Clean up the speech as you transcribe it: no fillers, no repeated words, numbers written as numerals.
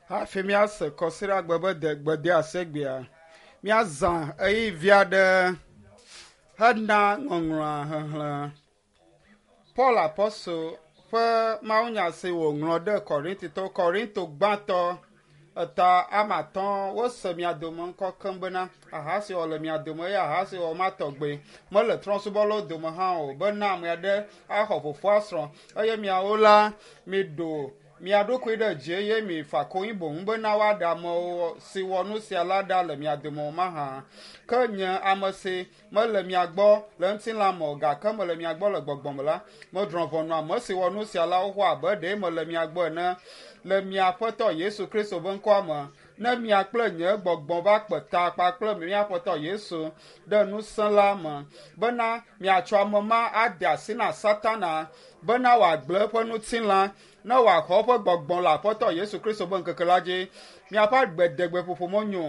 Hafi míase kɔsiɖagbe be de gbedeasegbea, míazã ɣeyiɣi vi aɖe hena ŋɔŋlɔa xexlẽ. Paul Apɔstol ƒe mawunya si wòŋlɔ ɖe Korintitɔwo, Korinto gbãtɔ eta ame atɔ̃ wose mia dome ŋkɔ keŋ bena ahasiwɔwɔ le mia dome eye ahasiwɔwɔ ma tɔgbe mele trɔ̃subɔlawo dome hã o bena ame aɖe axɔ fofoa srɔ̃ eye miawo la miɖo mia ɖokui ɖe dzi eye mifa konyi boŋ bena woaɖe amewo si wɔ nu sia la ɖa le mia dome o mahã. Ke nye ame si mele mia gbɔ le ŋutilã me o gake mele mia gbɔ le gbɔgbɔ me la, medrɔ̃ ʋɔnu ame si wɔ nu sia la xoxo abe ɖe mele mia gbɔ ene le mia Aƒetɔ Yesu Kristo ƒe ŋkɔa me. Ne mia kple nye gbɔgbɔ va kpe ta kpakple mía Aƒetɔ Yesu ɖe ŋusẽ la me bena miatsɔ ame ma ade asi na Satana bena wòagblẽ eƒe ŋutilã ne wòaxɔ eƒe gbɔgbɔ le Aƒetɔ Yesu Kristo ƒe ŋkeke la dzi. Miaƒe agbedegbeƒoƒo menyo.